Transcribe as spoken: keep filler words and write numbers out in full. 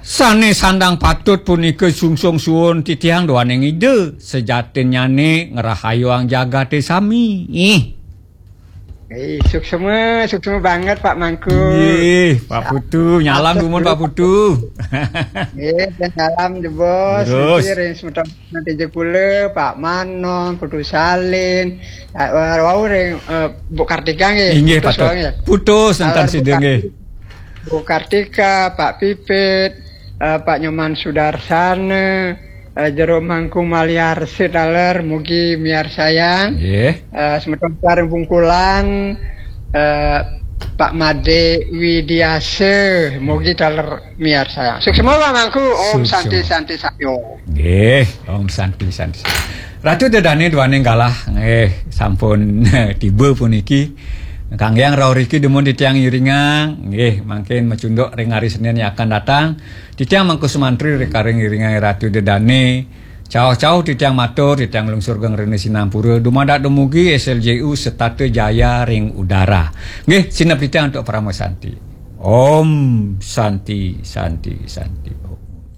Sane sandang patut punika sungsung suun titiang duaning Ida, sajatinnyane ngrahayuang jagate sami. Ih. Eh, suksma, suksma banget, Pak Mangku. Ih, Pak Putu, nyalam dumun, Pak Putu. Eh, dan salam jebos, Terus. Niki ring semeton nanti jekule, Pak Manon, Putu Salin, eh, wau ring, eh, Bu Kartika nggih. Inggih, Putus Pak Tut. Wau nggih. Putus, enten Salam sida Bu nggih. Kartika. Bu Kartika, Pak Pipit, eh, Pak Nyoman Sudarsana, eh, Jero Mangku Maliarsa taler, mugi miarsayang. Nggih. Eh, semeton sareng Bungkulan, eh, Pak Made Widiasa, mugi taler miarsayang. Suksma Pak Mangku, Om Suksma. Santi Santi Satyo. Nggih, Om Santi Santi. Ratu Dedane duaning galah, nggih, sampun tiba puniki. Kangge rauh riki dumun titiang iringang, nggih, mangkin macunduk ring hari Senin yang akan datang. Titiang Mangku Sumantri rekaring iringang Ratu Dedane. Cauh-cauh titiang matur, titiang lungsur geng rene sinampura. Dumadak dumugi S L J U setata jaya ring udara. Nggih, sinep titiang antuk Parama Santi. Om Santi, Santi, Santi.